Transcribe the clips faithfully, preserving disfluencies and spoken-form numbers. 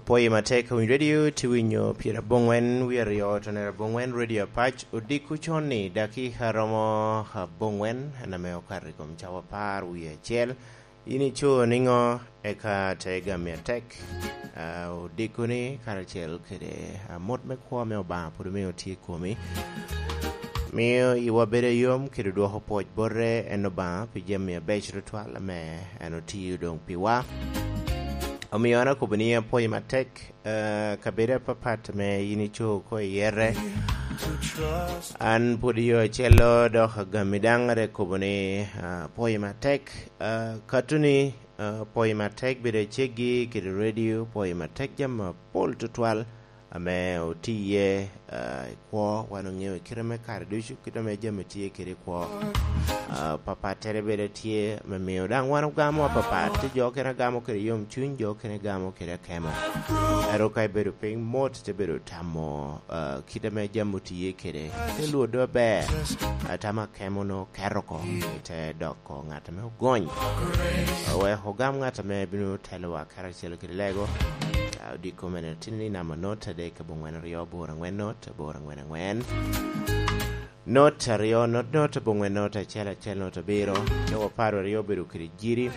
Pwoyo matek, Winyo Radio, tye winyo pyerabongwen wie aryo, tonere abongwen, Radio Apac, odiko con-ni, dakika romo abongwen, en ame okato i kom cawa apar wie acel. In ico niŋo, eka te gami atek? Ah, odiko-ni karacel kede, ah, mot me kwo ame Obaŋa pwod omio tye i komi. Mio iwa bedo ayom kede dwoko pwoc bote en Obaŋa pi jami abeco tutwal ame en otio doŋ piwa. Omio an akobo ni apwoyi matek, eh, kabedo apapat ame yin ico oko i yete. An pwod yo acel-lo, dok agami daŋ rik kobo ni, ah, apwoyi matek. Ah, kato ni, ah, apwoyi matek bedo aceggi kede redio, apwoyi matek jami apol tutwal ame oti iye, ah, i kwo, wan oŋeo i kite me kare ducu, kite ame jami tye kede i kwo. Ah, papattere bene tye, me mio daŋ wan ogamo apapat. Tye jo okene agamo kede yomcuny, jo okene gamo kede akemo. Ento ka ibedo piny mot, ite bedo tamo, ah, kite ame jami otiye kede, ite lwodo aber. Ah, tamo akemo-nu keto oko, ite doko ŋat ame ogony. Ah, wek ogam ŋat ame bino telowa karacel kede lego. Ah, odiko mene tin ni namba not adek abongwen aryo aboro angwen not aboro angwen angwen. Not aryo not not abongwen not acel acel not abiro. Ne waparo aryo obedo kede jiri.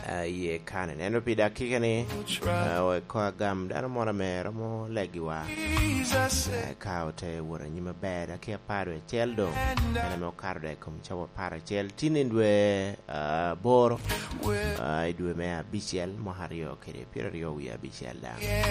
Ah, iye kane. Neno pi dakika ni, ah, wek ko agam dano moro ame romo legiwa. Ah, ka ote wot anyim aber, dakika apar wie acel doŋ. En ame okato dok i kom cawa apar acel. Tin i dwe, ah, aboro, ah, i dwe me abicel, mwaka aryo kede pyeraryo wie abicel daŋ.